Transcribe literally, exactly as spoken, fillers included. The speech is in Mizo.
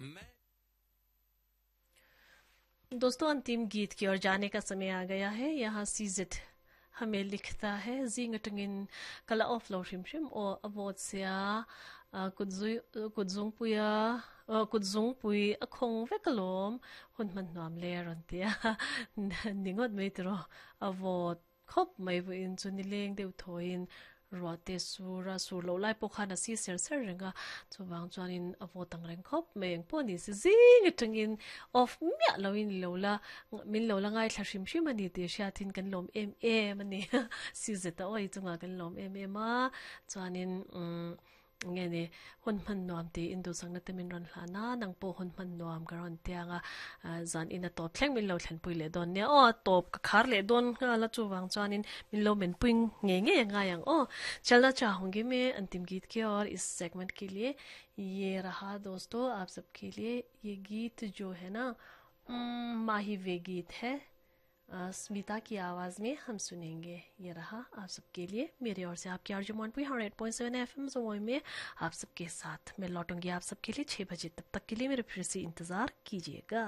मैं दोस्तों, अंतिम गीत की ओर जाने का समय आ गया है। यहाँ सीजित हमें लिखता है, जिंग टंगिन कला of low shrim shrim o avot sia kutzui kutzung puya kutzung pui akhong vekalom hun man nuam le ron tia ningot mei tro avot khop mai bu in chu nileng deuh thoin ruate sura sur lo lai pawh khan a si ser ser renga chuwang chuanin a vaw tang reng khawp mai ang pawh ni si zing atangin off miah loin lo la min lo la ngai thla hrim hrim ani tih hriatin kan lawm em em ani si zeta awi chungah kan lawm em em a chuanin umm nge ni hun hman nuam ti in duh changna te min rawn hlan a nang pawh hun hman nuam ka rawn tiang a zan in a tawp thleng min lo thlen pui leh dawn nia aw tawp ka khar leh dawn nghal a chuwang chuanin min lo men pui nge nge ngai ang aw chalna चाहूंगी मैं अंतिम गीत के और इस सेगमेंट के लिए। ये रहा दोस्तों आप सबके लिए ये गीत जो है ना, माही वे गीत है, स्मिता की आवाज़ में हम सुनेंगे। ये रहा आप सबके लिए मेरे और से आपके RJ Monpui hundred point seven F M जोई में आप सबके साथ मैं लौटूंगी आप सबके लिए छः बजे। तब तक के लिए मेरे फिर से इंतज़ार कीजिएगा।